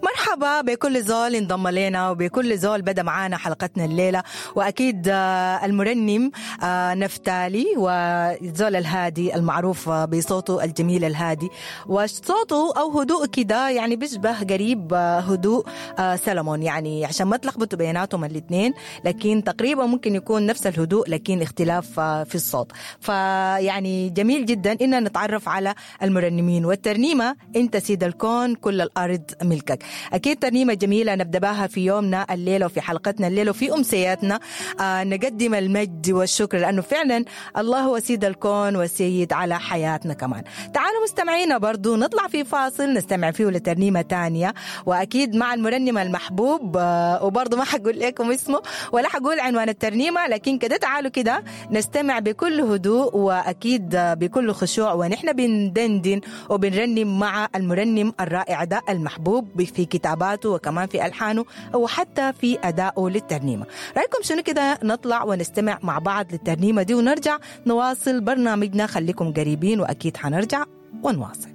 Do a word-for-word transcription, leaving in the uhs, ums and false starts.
مرحبا بكل زول انضم لنا وبكل زول بدا معانا حلقتنا الليلة، وأكيد المرنم نفتالي وزول الهادي المعروف بصوته الجميل الهادي، وصوته أو هدوء كده يعني بيشبه قريب هدوء سلمون، يعني عشان ما تلخبطوا بيناتهم الاثنين، لكن تقريبا ممكن يكون نفس الهدوء لكن اختلاف في الصوت. فيعني جميل جدا إننا نتعرف على المرنمين. والترنيمة أنت سيد الكون كل الأرض ملكك، أكيد ترنيمة جميلة نبدأ بها في يومنا الليلة وفي حلقتنا الليلة وفي أمسياتنا. آه نقدم المجد والشكر لأنه فعلا الله هو سيد الكون والسيد على حياتنا كمان. تعالوا مستمعينا برضو نطلع في فاصل نستمع فيه لترنيمة تانية، وأكيد مع المرنم المحبوب، آه وبرضو ما حقول لكم اسمه ولا حقول عنوان الترنيمة، لكن كده تعالوا كده نستمع بكل هدوء وأكيد بكل خشوع ونحن بندندن وبنرنم مع المرنم الرائع ده المحبوب في كتاباته وكمان في ألحانه وحتى في أدائه للترنيمة. رأيكم شنو كده نطلع ونستمع مع بعض للترنيمة دي ونرجع نواصل برنامجنا؟ خليكم قريبين وأكيد حنرجع ونواصل.